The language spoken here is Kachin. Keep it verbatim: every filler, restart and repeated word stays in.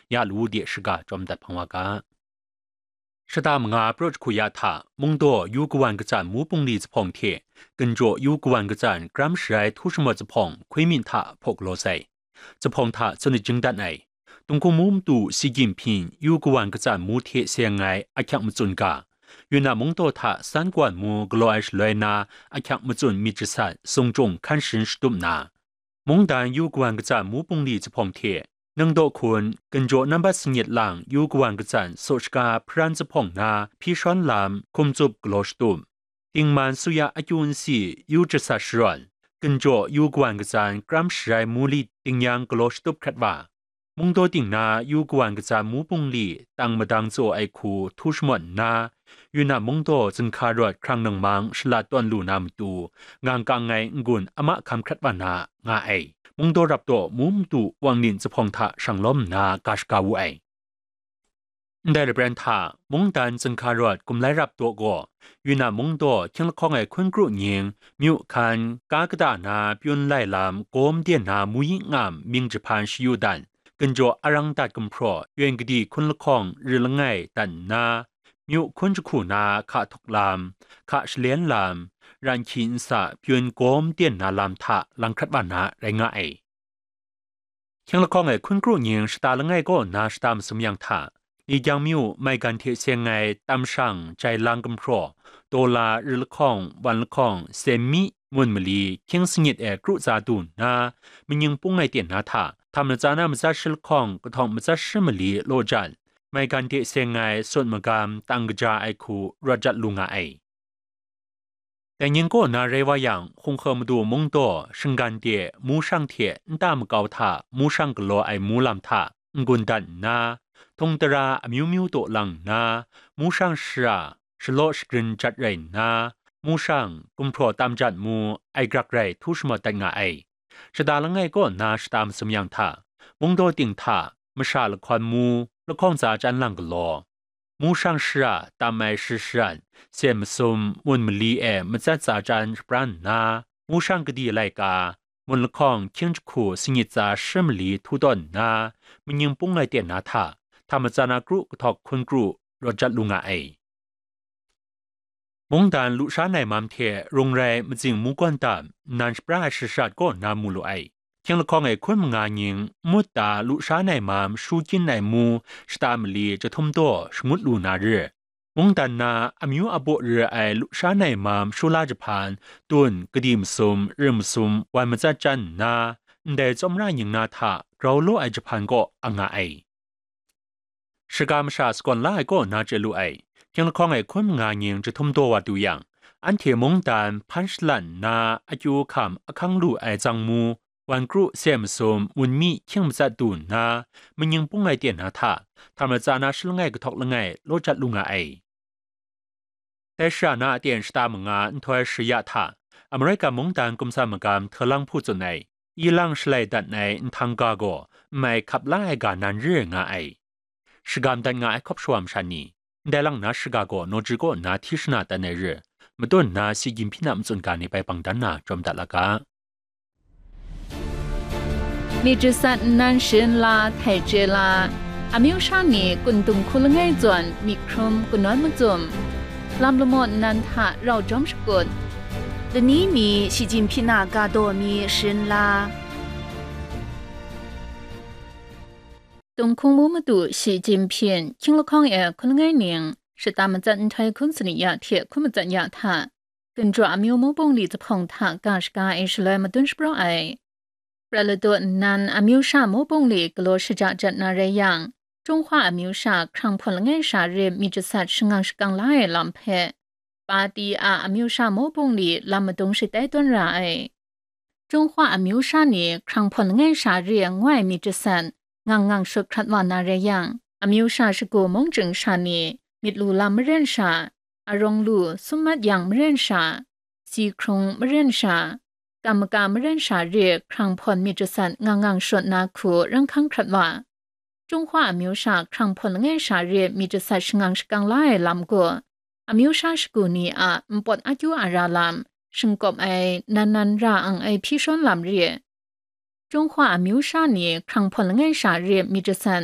ya lawu de shaga chyawm dat hpang wa ga. Shata manga pra jahku ya hta, mungdaw yu kawan katsan mu bungli zuphpawng hte, ginjaw yu kawan katsan kram sharai htu shamawt zuphpawng hkwi myin hta hpaw galaw sai. Zuphpawng hta tsun jing dat ai. Tunghkung mu matu Xi Jinping yu kawan katsan mu hte seng ai ahkyak matsun ga, Yunnan mungdaw hta san kawan mu galaw ai shaloi na ahkyak matsun myit jasat sung chyung hkan sharin shatup nna, mungdan yu kawan katsan mu bungli zuphpawng hte, ningdaw hkun, ginjaw nambat sangyit lang yu kawan katsan saw shaga hparan zuphpawng na hpyi shawn lam hkum tsup galaw shatup. Dingman suya akyu nsi yu jasat sharawn, ginjaw yu kawan katsan kram sharai mu li dingyang galaw shatup hkrat wa, mungdaw ting na yu kawan katsan mu bungli tang madang tsaw ai hku htu shamawt nna, Yunnan mungdaw zinhka rawt hkrang ningmang shalat tawn lu na matu, ngang kang ai n-gun a mahkam hkrat wa na nga ai. Mungdaw rap daw mu matu wang nin zuphpawng hta shang lawm nna ga shaga wu ai. Ndai lapran hta, mungdan zinhka rawt gumlai rap daw gaw, Yunnan mungdaw hkying lahkawng ai hkun kru nying, myu hkan, ka kata na pyun lai lam, gawm den na mu yi ngam mying jahpan shayu dan, ginjaw arang dat gumhpraw, yawng kadi hkun lahkawng ri langai dat nna, myu hkun jahku na hka htuk lam, hka shalen lam, ran hkyi nsa pyun gawm den na lam hta lang hkrat wa na rai nga ai. Hkying lahkawng ai hkun kru nying shata langai kaw nna shata masum yang hta, Likyang myu maigan hte seng ai tam shang jai lang gumhpraw, daw la ri lahkawng, wan lahkawng, sem mi, mun mali, hkying sangit e kru tsa du nna, manying pung ai ten na hta, htam latsa na matsat shi lahkawng, kahtawng matsat shi mali law jan, maigan hte seng ai sut magam tang kaja ai hku rawt jat lu nga ai. Dai ning kaw na rai wa yang, Hkunghe madu mungdaw, shinggan de, mu shang hte nta makau hta mu shang galaw ai mu lam hta n-gun dat nna, htung tara amyu myu taw lang nna, mu shang shara shalaw shagrin jat rai nna, mu shang gumhpraw tam jat mu ai grak rai htu shamawt dat nga ai. Shata langai kaw nna shata masum yang hta, mungdaw ting hta masha lahkawn mu lahkawng tsa chyan lang galaw, mu shang shara tam ai shi sharan, sem masum, mun mali e matsat tsa chyan shapran nna, mu shang kadi laika, mun lahkawng hkying jahku sangit tsa shi mali htu tawn nna, manying pung ai ten na hta, htam matsa na kru kahtawk hkun kru rawt jat lu nga ai. Mungdan lusha nai mam hte rung rai matsing mu gawn tam, nnan shapra ai shashat kaw na mu lu ai. Hkying lahkawng e hkun manga nying, mut ta lusha nai mam shu kyin ai mu shata mali jahtum daw shangut lu na re. Mungdan na amyu abaw re ai lusha nai mam shu la jahpan, tun, kadi masum, rim masum, wan matsat chyan nna, ndai tsawmra nying na hta grau law ai jahpan kaw a nga ai. Shaga masha sagawn la ai kaw na chye lu ai. Hkying lahkawng e hkun manga nying jahtum daw wa du yang, anhte mungdan hpan shalan nna akyu hkam ahkang lu ai tsang mu, wan kru, sem masum, mun mi hkying matsat du nna, manying pung ai ten na hta, htam latsa na shi langai kahtawk langai law jat lu nga ai. Dai shara na aten shata manga nhtoi shaya hta, Amerika mungdan kumsan magam hte lang hpu tsun ai, ilang shalai dat ai nhtang ga gaw, n mai hkap la ai ga nan re nga ai. Shagam dat nga ai hkawp shawa masha ni, ndai lang na shaga gaw nawji kaw nna hti shana dat ai re, matun nna Xi Jinping a matsun ga ni bai bang dan na jawm dat la ga. Myit jasat nnan sharin la htai chye la, amyu sha ni kun dung hku langai zawn myit hkrum kanawn macum, lam lamaw nnan hta rau jawm shakut, lani mi Shi Jinhpyin a ga daw mi sharin la. Tunghkung mu madu Shi Jinhpyin, hkying lahkawng e hkun langai ning, shata matsat nhtoi hkun sanit ya hte hkun matsat ya hta, Ginjaw amyu mu bungli zuphpawng hta ga shaga ai shaloi madun shapraw ai. Prat ladaw nnan amyu sha mu bungli galaw shaja jat na rai yang, Jinghpaw amyu sha hkrang hpawn langai sha re myit jasat shangang shakang la ai lam hpe, Pati a amyu sha mu bungli lam madung shatai tawn ra ai. Jinghpaw amyu sha ni hkrang hpawn langai sha re ngoi myit jasat ngang ngang shut hkrat wa na rai yang, amyu sha shagu mung chying sha ni myit lu lam maren sha, arawng lu sum mat yang maren sha, si hkrung maren sha, kam maka maren sha re hkrang hpawn myit jasat ngang ngang shut na hku rai hkang hkrat wa. Jinghpaw amyu sha hkrang hpawn langai sha re myit jasat shangang shakang la ai lam gaw, amyu sha shagu ni a npawt akyu a ra lam, shingkawp ai nan nan ra ang ai hpyi shawn lam re. Jinghpaw amyu sha ni hkrang hpawn langai sha re myit jasat